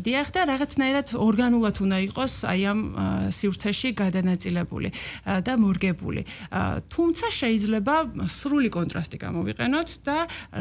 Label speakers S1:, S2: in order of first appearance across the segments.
S1: დიახ და რაღაცნაირად ორგანულად უნდა იყოს აი ამ სივრცეში გადანაწილებული და მორგებული. თუმცა შეიძლება სრული კონტრასტი გამოვიყენოთ და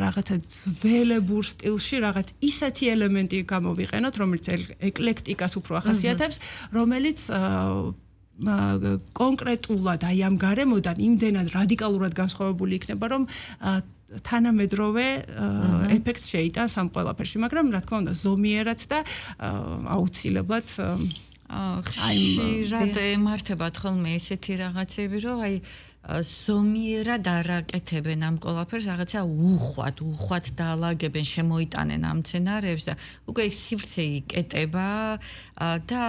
S1: რაღაცა ძველებურ სტილში რაღაც ისეთი ელემენტი გამოვიყენოთ, რომელიც ეკლექტიკას უფრო ახასიათებს, რომელიც კონკრეტულად აი ამ გარემოდან იმდენად რადიკალურად განსხვავებული იქნება, რომ თანამედროვე ეფექტს შეიტანს ამ ყველაფერში, მაგრამ რა თქმა უნდა ზომიერად და აუცილებლად
S2: ხშირად ემართებათ ხოლმე ესეთი რაღაცები, რომ აი ზომიერად არაკეთებენ ამ ყველაფერს, რაღაცა უხვად დაალაგებენ, შემოიტანენ ამ მცენარეებს და უკვე სივრცე იკეტება და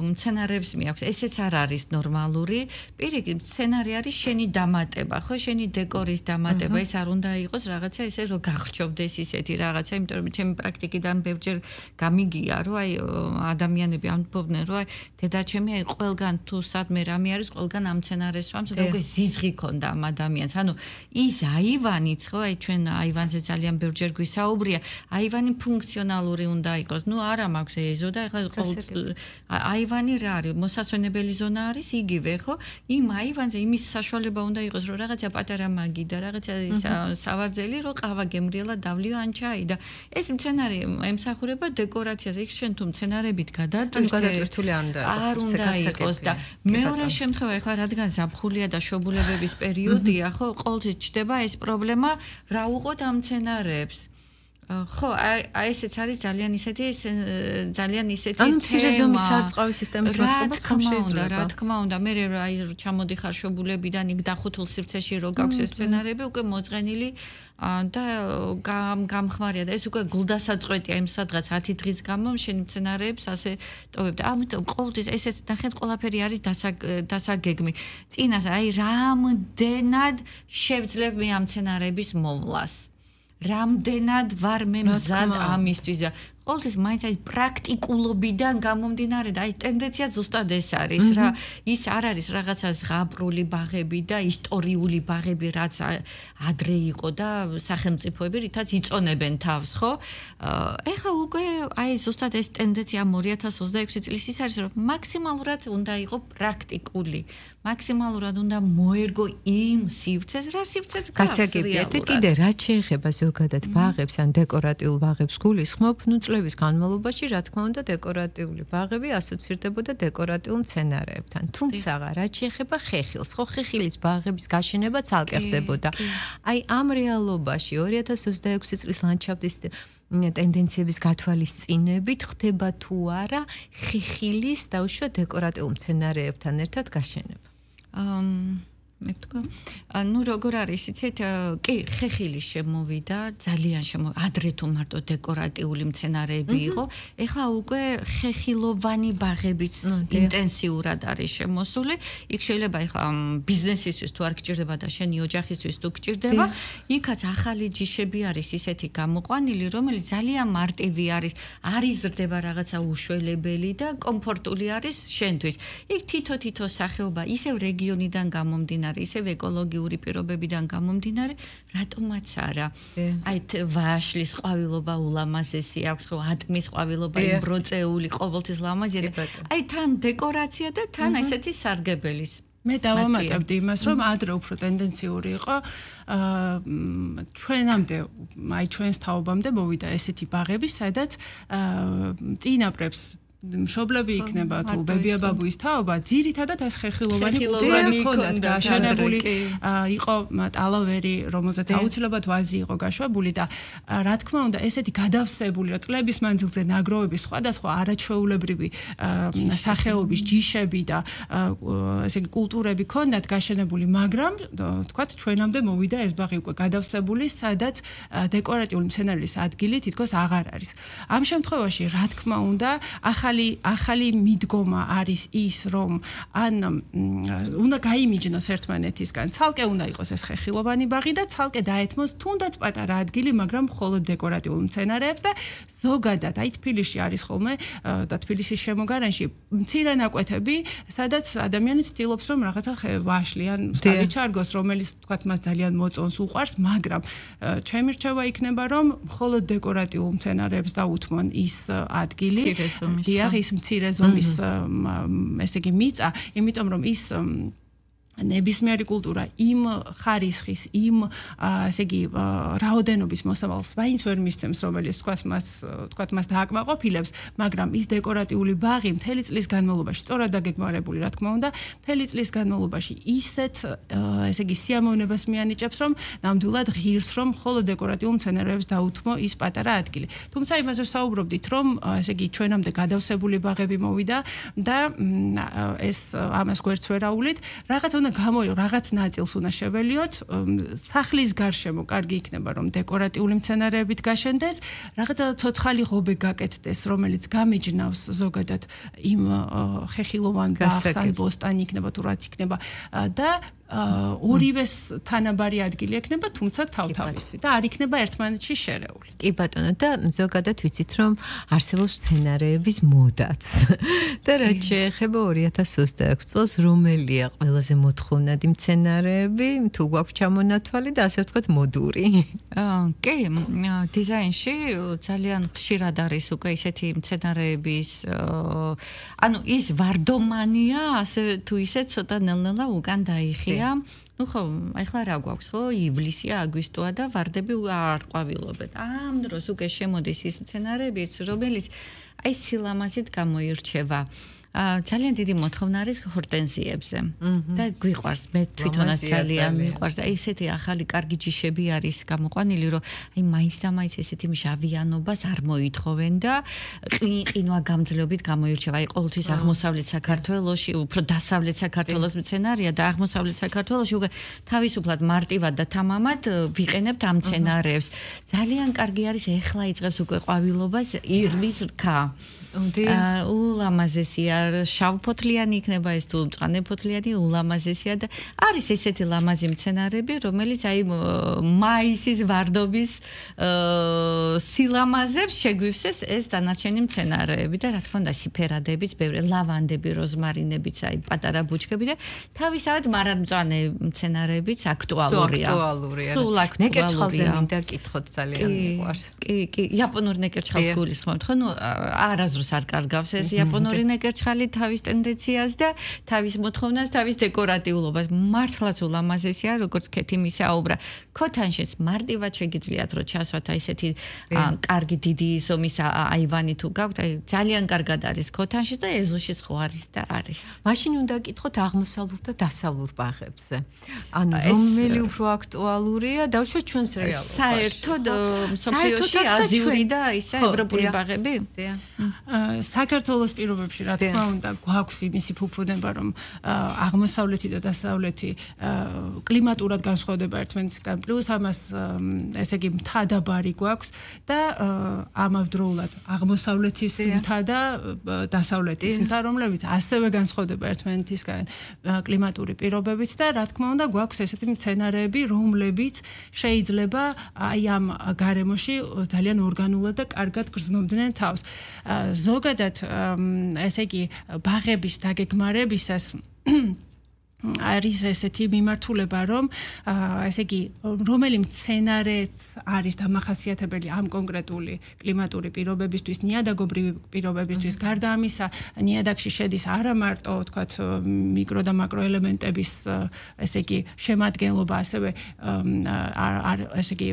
S2: მცენარეებს მიაქვს. ესეც არ არის ნორმალური. პირიქით, მცენარე არის შენი დამატება, ხო, შენი დეკორის დამატება. ეს არ უნდა იყოს რაღაცა ესე რომ გახჩობდეს ისეთი რაღაცა, იმიტომ რომ ჩემი პრაქტიკიდან ბევრჯერ გამიგია, რომ აი ადამიანები ამბობდნენ, რომ აი დედაჩემი აი ყველგან თუ სადმე რამე არის, ყველგან ამ მცენარეს ვამს და უკვე ზიზღი ქონდა ამ ადამიანს. ანუ ის აივანიც, ხო, აი ჩვენ აივანზე ძალიან ბევრჯერ გვისაუბრია, აივანი ფუნქციონალური უნდა იყოს. ნუ არა მაქვს ეზო და ეხლა აივანი რა არის? მოსასვენებელი ზონა არის იგივე, ხო? იმ აივანზე იმის საშუალება უნდა იყოს, რომ რაღაცა პატარა მაგი და რაღაცა სავარძელი, რომ ყავა გემრიელა დავლიო ან ჩაი და ეს მცენარე ემსახურება დეკორაციას. იქ შენ თუ მცენარებით
S3: გადადვირთული
S2: არ უნდა იყოს და მეორე შემთხვევა ეხლა რადგან ზაფხულია და შობულებების პერიოდია, ხო, ყოველთვის ჩდება ეს პრობლემა, რა უყოთ ამ მცენარეებს. ხო, აი ესეც არის ძალიან ისეთი
S3: ანუ მცირე ზომის სარწყავი სისტემის მოწყობაც ხომ შეიძლება?
S2: რა თქმა უნდა, მე აი ჩამოდიხარ შობულებიდან იქ დახუთულ სივრცეში რო გაქვს ეს მცენარეები, უკვე მოწყენილი და გამხმარია და ეს უკვე გულდასაწყვეტია იმ სადღაც 10 დღის გამო შენი მცენარეებს ასე ტოვებ და ამიტომ ყოველთვის ესეც ნახეთ ყველაფერი არის დასაგეგმი. წინას აი რამდენად შევძლებ მე ამ მცენარეების მოვლას. რამდენად ვარ მე მზად ამისთვის და ყოველთვის მაინც აი პრაქტიკულობიდან გამომდინარე და აი ტენდენცია ზუსტად ეს არის რა ის არ არის რაღაცა ზღაპრული ბაღები და ისტორიული ბაღები რაც ადრე იყო და სახელმწიფოები რითაც იწონებენ თავს ხო ეხლა უკვე აი ზუსტად ეს ტენდენცია 2026 წლის ის არის რომ მაქსიმალურად უნდა იყო პრაქტიკული მაქსიმალურად უნდა მოერგო იმ სივრცეს რა სივრცეც
S3: გასაგებია და კიდე რაც შეეხება ზოგადად ბაღებს ან დეკორატიულ ბაღებს გულისხმობ ნუ წლების განმავლობაში რა თქმა უნდა დეკორატიული ბაღები ასოცირდებოდა დეკორატიულ მცენარეებთან თუმცა რაც შეეხება ხეხილს ხო ხეხილის ბაღების გაშენება ცალკე ხდებოდა აი ამ რეალობაში 2026 წლის ლანდშაფტის ტენდენციების გათვალისწინებით ხდება თუ არა ხეხილის დაუშვა დეკორატიულ მცენარეებთან ერთად გაშენება
S2: მე ვთქვა ნუ როგორ არის იცით კი ხეხილი შემოვიდა ძალიან ადრე თუ მარტო დეკორატიული მცენარეები იყო ეხლა უკვე ხეხილოვანი ბაღებიც ინტენსიურად არის შემოსული იქ შეიძლება ეხლა ბიზნესისთვის თუ არ გჭირდება და შენი ოჯახისთვის თუ გჭირდება იქაც ახალი ჯიშები არის ისეთი გამოყვანილი რომელიც ძალიან მარტივი არის არ იზრდება რაღაცა უშველებელი და კომფორტული არის შენთვის იქ თითო სახეობა ისევ რეგიონიდან გამომდინარე ისევ ეკოლოგიური პირობებიდან გამომდინარე, რატომაც არა. აი ვაშლის ყვავილობა ულამაზესი აქვს, ხო, ატმის ყვავილობა იმბროწეული, ყოველთვის ლამაზია. აი თან დეკორაცია და თან ესეთი სარგებელის.
S1: მე დავამატებდი იმას, რომ ადრე უფრო ტენდენციური იყო, ჩვენამდე, აი ჩვენს თაობამდე მოვიდა ესეთი ბაღები, სადაც წინაპრებს მშობლები იქნება თუ ბებია-ბაბუის თაობა, ძირითადად ეს ხეხილოვანი კულტურები ჰქონდათ გაშენებული, იყო ტალავერი, რომელზეც აუცილებლად ვაზი იყო გაშვებული და რა თქმა უნდა, ესეთი გადავსებული, რა წლების მანძილზე ნაგროვების სხვადასხვა არაჩვეულებრივი სახეობის ჯიშები და ესე იგი კულტურები ჰქონდათ გაშენებული, მაგრამ თქვათ ჩვენამდე მოვიდა ეს ბაღი უკვე გადავსებული, სადაც დეკორატიული მცენარის ადგილი თითქოს აღარ არის. ამ შემთხვევაში, რა თქმა უნდა, ახალი ახალი მიდგომა არის ის, რომ ან უნდა გაიმიჯნოს ერთმანეთისგან, ცალკე უნდა იყოს ეს ხეხილოვანი ბაღი და ცალკე დაეთმოს თუნდაც პატარა ადგილი, მაგრამ მხოლოდ დეკორატიულ მცენარეებს და ზოგადად აი თბილისში არის ხოლმე და თბილისის შემოგარენში მცირე ნაკვეთები, სადაც ადამიანი ცდილობს რომ რაღაცა ვაშლი ან სტავი ჩარგოს, რომელიც თქვათ მას ძალიან მოწონს, უყვარს, მაგრამ ჩემი რჩევა იქნება რომ მხოლოდ დეკორატიულ მცენარეებს დაუთმონ ის ადგილი. დიახ, ის მცირე ზომის ესე იგი მიწა, იმიტომ რომ ის ნებისმიერი კულტურა იმ ხარისხის, იმ ესე იგი რაოდენობის მოსავალს ვაინც ვერ მისცემს, რომელიც თქვათ მას დააკმაყოფილებს, მაგრამ ის დეკორატიული ბაღი მთელი წლის განმავლობაში, სწორად დაგეგმარებული, რა თქმა უნდა, მთელი წლის განმავლობაში ისეთ ესე იგი სიამოვნებას მიანიჭებს, რომ ნამდვილად ღირს, რომ მხოლოდ დეკორატიულ მცენარეებს დაუთმო ის პატარა ადგილი. თუმცა იმაზე ვსაუბრობდით, რომ ესე იგი ჩვენამდე გადავსებული ბაღები მოვიდა და ეს ამას გვერდს ვერ აუვლით, რაღაც ნაწილს უნდა შეველიოთ, სახლის გარშემო კარგი იქნება რომ დეკორატიული მცენარეებით გაშენდეს, რაღაცა ცოცხალი ღობე გაკეთდეს, რომელიც გამიჯნავს ზოგადად იმ ხეხილოვან ბაღს ან ბოსტანი იქნება თუ რაც იქნება და ორივეს თანაბარი ადგილი ექნება, თუმცა თავთავისი და არ იქნება ერთმანეთში შერეული.
S3: კი ბატონო, და ზოგადად ვიცით რომ არსებობს მცენარეების მოდაც. და რაც შეეხება 2026 წელს, რომელია ყველაზე მოთხოვნადი მცენარეები, თუ გვაქვს ჩამონათვალი და ასე ვთქვათ მოდური?
S2: კი, დიზაინში ძალიან ხშირად არის უკვე ისეთი მცენარეების ანუ ის ვარდომანია, ასე თუ ისე ცოტა ნელ-ნელა უკან დაიხია. ნუ ხო, ახლა რა გვაქვს, ხო? ივლისია, აგვისტოა და ვარდები არ ყვავილობენ. ამ დროს უკვე შემოდის ის მცენარეებიც, რომელიც აი სილამაზით გამოირჩევა. ძალიან დიდი მოთხოვნა არის ჰორტენზიებზე და გვიყვარს, მე თვითონაც ძალიან მიყვარს. აი ესეთი ახალი კარგი ჯიშები არის გამოყვანილი, რომ აი მაინც და მაინც ესეთი მჟავიანობას არ მოითხოვენ და ყინვა გამძლეობით გამოირჩევა. აი ყოველთვის აღმოსავლეთ საქართველოში, უფრო დასავლეთ საქართველოს მცენარეა და აღმოსავლეთ საქართველოში უკვე თავისუფლად მარტივად და თამამად ვიყენებთ ამ მცენარეებს. ძალიან კარგი არის, ეხლა იწყებს უკვე ყვავილობას ირმის რქა. ულამაზესია, შავფოთლიანი იქნება ეს თუ მწვანეფოთლიანი, ულამაზესია და არის ესეთი ლამაზი მცენარეები, რომელიც აი მაისის ვარდობის სილამაზებს შეგვივსებს ეს დანარჩენი მცენარეები და რა თქმა უნდა სიფერადებიც, ბევრი ლავანდები, როზმარინებიც, აი პატარა ბუჩქები და თავისავად მარადმწვანე მცენარეებიც აქტუალურია. სულ აქტუალურია.
S3: ნეკერჩხალზე მინდა კითხოთ, ძალიან მიყვარს.
S2: კი, იაპონური ნეკერჩხალს გულისხმობთ, ხო? ნუ არაზრ არ კარგავს ეს იაპონური ნეკერჩხალი თავის ტენდენციას და თავის მოთხოვნას, თავის დეკორატიულობას. მართლაც ულამაზესია, როგორც ქეთიმი საუბრა. ქოთანშიც მარტივად შეგიძლიათ რომ ჩასვათ აი ესეთი კარგი დიდი ზომის აივანი თუ გაქვთ, აი ძალიან კარგად არის ქოთანში და ეზოში ხო არის და არის.
S3: მაშინ უნდა გითხოთ აღმოსავლურ და დასავლურ ბაღებზე. ანუ რომელი უფრო აქტუალურია, დავუშვათ ჩვენს რეალობაში.
S2: საერთოდ მსოფლიოში აზიური და ისე ევროპული ბაღები?
S1: საქართველოს პირობებში რა თქმა უნდა გვაქვს იმისი ფუფუნება რომ აღმოსავლეთი და დასავლეთი კლიმატურად განსხვავდება ერთმანეთისგან პლუს ამას ესე იგი მთადაბარი გვაქვს და ამავდროულად აღმოსავლეთის მთა და დასავლეთის მთა რომლებიც ასევე განსხვავდება ერთმანეთისგან კლიმატური პირობებით და რა თქმა უნდა გვაქვს ესეთი მცენარეები რომლებიც შეიძლება აი ამ გარემოში ძალიან ორგანულად და კარგად გრძნობდნენ თავს. ზოგადად ესე იგი ბაღების დაგეგმარებისას არის ესეთი მიმართულება, რომ ესე იგი რომელი მცენარეც არის დამახასიათებელი ამ კონკრეტული კლიმატური პირობებისთვის, ნიადაგობრივი პირობებისთვის, გარდა ამისა, ნიადაგში შედის არა მარტო, თქვათ, მიკრო და მაკრო ელემენტების ესე იგი შემადგენლობა, ასევე ესე იგი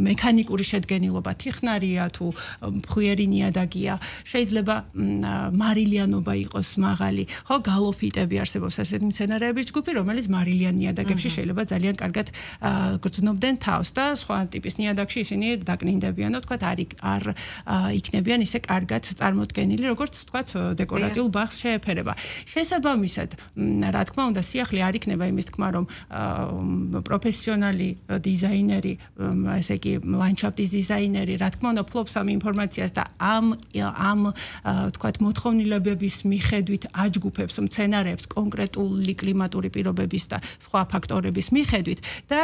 S1: მექანიკური შედგენილობა, თიხნარია თუ მხვიერი ნიადაგია, შეიძლება მარილიანობა იყოს მაღალი, ხო, გალოფიტები არსებობს ასეთი მცენარეების ჯგუფი, რომელიც მარილიან ნიადაგებში შეიძლება ძალიან კარგად გრძნობდნენ თავს და სხვა ტიპის ნიადაგში ისინი დაკნინდებიან, თქვათ, არ იქნებიან ისე კარგად წარმოდგენილი, როგორც თქვათ, დეკორატიულ ბაღს შეეფერება. შესაბამისად, რა თქმა უნდა, სიახლე არ იქნება იმის თქმა, რომ პროფესიონალი დიზაინერი, ესე იგი, ლანდშაფტის დიზაინერი, რა თქმა უნდა, ფლობს ამ ინფორმაციას და ამ თქვათ, მოთხოვნილებების მიხედვით აჯგუფებს მცენარეებს კონკრეტული კლიმატური პირობების და სხვა ფაქტორების მიხედვით და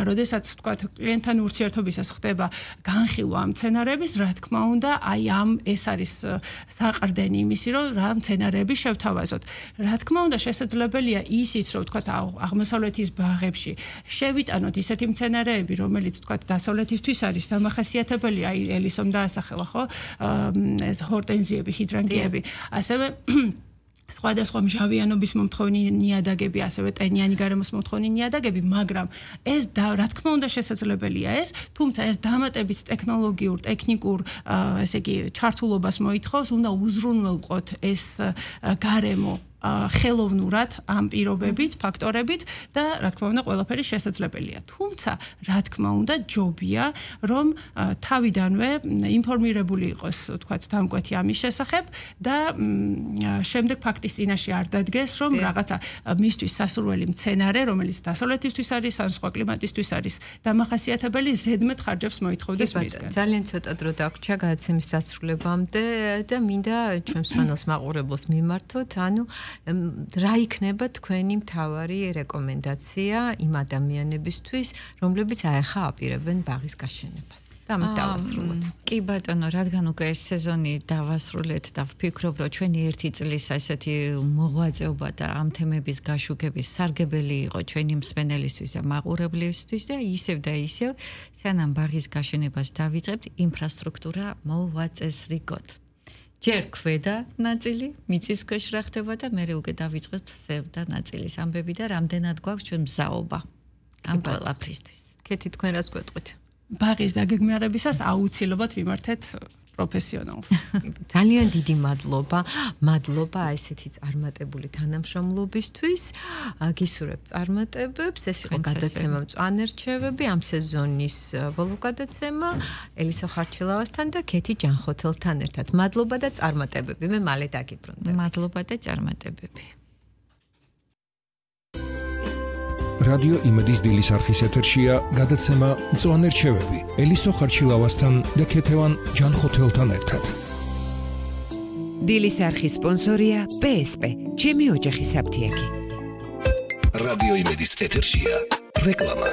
S1: როდესაც თქვათ, კლიენტთან ურთიერთობისას ხდება განხილვა ამ მცენარეების, რა თქმა უნდა, აი ამ ეს არის საყრდენი იმისი, რომ რა მცენარეები შევთავაზოთ. რა თქმა უნდა, შესაძლებელია ისიც, რომ თქვათ, აღმოსავლეთის ბაღებში შევიტანოთ ისეთი მცენარეები, რომელიც თქვათ, დასავლეთისთვის არის დამახასიათებელი, აი ელისომ დაასახელა, ხო? ეს ჰორტენზიები, ჰიდრანგიები, ასევე სხვადასხვა მჟავიანობის მომთხოვნი ნიადაგები, ასევე ტენიანი გარემოს მომთხოვნი ნიადაგები, მაგრამ ეს რა თქმა უნდა შესაძლებელია ეს, თუმცა ეს დამატებით ტექნოლოგიურ, ტექნიკურ, ესე იგი, ჩართულობას მოითხოვს, უნდა უზრუნველყოთ ეს გარემო ხელოვნურად ამ პირობებით, ფაქტორებით და რა თქმა უნდა ყველაფერი შესაძლებელია. თუმცა, რა თქმა უნდა, ჯობია, რომ თავიდანვე ინფორმირებული იყოს, თქვათ, დამკვეთი ამის შესახებ და შემდეგ ფაქტის წინაშე არ დადგეს, რომ რაღაცა მისთვის სასურველი მცენარე, რომელიც დასავლეთისთვის არის, ან სხვა კლიმატისთვის არის დამახასიათებელი, ზედმეტ ხარჯებს მოითხოვდეს მისგან.
S3: ძალიან ცოტა დრო დაგვრჩა გადაცემის დასრულებამდე და მინდა ჩვენს პანელს მაყურებელს მიმართოთ, ანუ რა იქნება თქვენი მთავარი რეკომენდაცია იმ ადამიანებისთვის, რომლებიც აეხა აპირებენ ბაღის გაშენებას? და ამით დავასრულოთ.
S2: კი ბატონო, რადგან უკვე ეს სეზონი დავასრულეთ და ვფიქრობ, რომ ჩვენი ერთი წლის ესეთი მოღვაწეობა და ამ თემების გაშუქების სარგებელი იყო ჩვენი მსმენელისთვის და მაყურებლისთვის და ისევ სანამ ბაღის გაშენებას დავიწყებთ, ინფრასტრუქტურა მოვაწესრიგოთ. ჯერ ქვედა ნაწილი, მიწის ქვეშ რა ხდება და მერე უკვე დავიწყეთ ზევდა ნაწილის ამბები და რამდენად გვაქვს ჩვენ მზაობა ამ ყველაფრისთვის.
S3: კეთი, თქვენ რას გვეტყვით?
S1: ბაღის დაგეგმარებისას აუცილებლად ვიმართეთ პროფესიონალს.
S3: ძალიან დიდი მადლობა ესეთი წარმატებული თანამშრომლობისთვის. გისურვებთ წარმატებებს. ეს იყო გადაცემა მწვანე რჩევები, ამ სეზონის ბოლო გადაცემა ელისო ხარჩილავასთან და კეთი ჯანხოთელთან ერთად. მადლობა და წარმატებები. მე მალე დაგიბრუნდები.
S2: მადლობა და წარმატებები.
S4: რადიო იმედის დილის არხის ეთერშია გადაცემა მწვანე რჩევები ელისო ხარჩილავასთან და ქეთევან ჯანხოთელთან ერთად.
S5: დილის არხის სპონსორია PSP, ჩემი ოჯახის აფთიაქი.
S6: რადიო იმედის ეთერშია რეკლამა.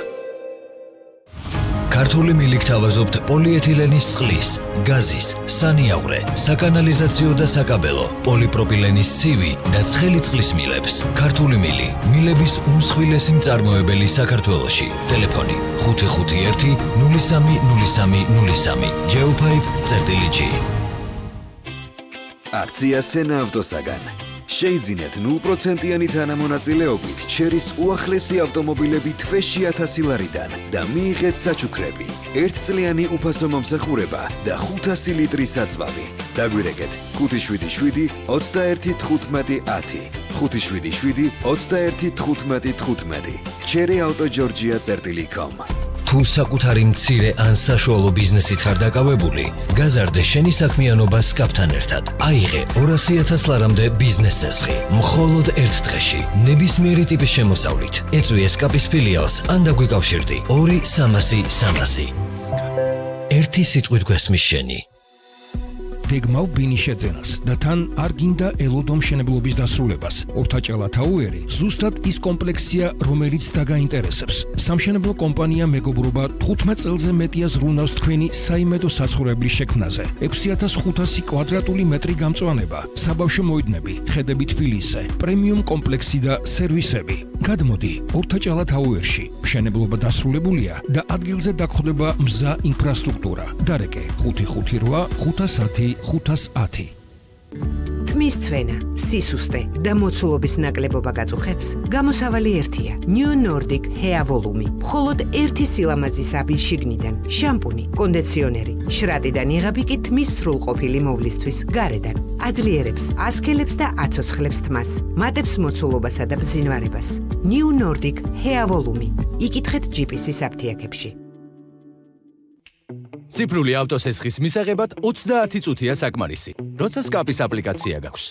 S7: ქართული მილიქ თავაზობთ პოლიეთილენის წყლის, გაზის, სანიაღვრე, საკანალიზაციო და საკაბელო, პოლიპროპილენის ცივი და ცხელი წყლის მილებს. ქართული მილი, მილების უმსხვილესი მწარმოებელი საქართველოში. ტელეფონი 551 030303. Geopipe.gr.
S6: აქცია სენა ავტოსაგან. შეიძინეთ 0%-იანი თანამონაწილეობით ჩერის უახლესი ავტომობილები თვეში 1000 ლარიდან და მიიღეთ საჩუქრები, 1წლიანი უფასო მომსახურება და 500 ლიტრის საწვავი. დაგვირეკეთ 577 21 15 10, 577 21 15 15. cherryautogeorgia.com.
S7: თუ საკუთარი მცირე ან საშუალო ბიზნესით ხარ დაკავებული, გაზარდე შენი საქმიანობა SCAP-თან ერთად. აიღე 200,000 ლარამდე ბიზნეს წესხი, მხოლოდ ერთ დღეში, ნებისმიერი ტიპის შემოსავლით. ეწვი SCAP-ის ფილიალს ან დაგვიკავშირდი 2-300-300. ერთი სიტყვით გვესმის შენი.
S4: გეგმავ ბინის შეძენას და თან არ გინდა ელოდო მშენებლობის დასრულებას. ორთაჭალა თაუერი ზუსტად ის კომპლექსია, რომელიც დაგაინტერესებს. სამშენებლო კომპანია მეგობრობა 15 წელზე მეტია ზრუნავს თქვენი საიმედო საცხოვრებლის შექმნაზე. 6500 კვადრატული მეტრი გამწვანება, საბავშვო მოედნები, ხედები თბილისზე, პრემიუმ კომპლექსი და სერვისები. გადმოდი ორთაჭალა თაუერში. მშენებლობა დასრულებულია და ადგილზე დაგხვდება მზა ინფრასტრუქტურა. დარეკე 558 510 510.
S5: თმის წვენა, სისუსტე და მოცულობის ნაკლებობა გაწუხებს, გამოსავალი ერთია. New Nordic Hair Volume. მხოლოდ ერთი სილამაზის აბი შიგნიდან, შამპუნი, კონდიციონერი, შრატიდან იღები კი თმის სრულყოფილი მოვლისთვის გარედან. აძლიერებს, ასქელებს და აცოცხლებს თმას, მატებს მოცულობასა და ბზინვარებას. New Nordic Hair Volume. იკითხეთ GPS-ის აფთიაქებში.
S8: ციფრული ავტოსესხის მისაღებად 30 წუთია საკმარისი. როცა სკაპის აპლიკაცია გაქვს.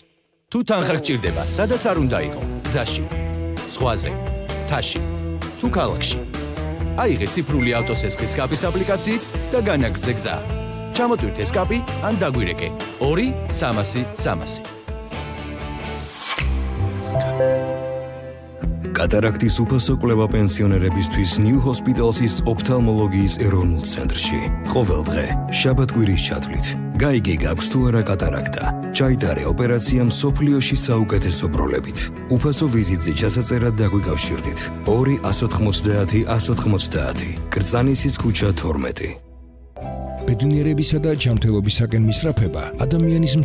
S8: თუ თანხა გჭირდება, სადაც არ უნდა იყო, გზაში, ზღვაზე, თაში, თუ ქალაქში. აიღე ციფრული ავტოსესხის სკაპის აპლიკაციით და განაგრძე გზა. ჩამოტვირთე სკაპი ან დაგვირეკე 2-300-300.
S6: კატარაქტის უფასო კვლევა პენსიონერებისთვის New Hospital's ოფთალმოლოგიის ეროვნულ ცენტრში. ყოველ დღე, შაბათ-კვირის ჩათვლით, გაიგე გაქვს თუ არა კატარაქტა. ჩაიტარე ოპერაცია მსოფლიოში საუკეთესო პროლებით. უფასო ვიზიტზე ჩასაწერად დაგვიკავშირდით. 2-190-190. კრწანისის ქუჩა 12.
S4: ბედნიერებისა და ჯანმრთელობისაკენ მისწრაფება ადამიანის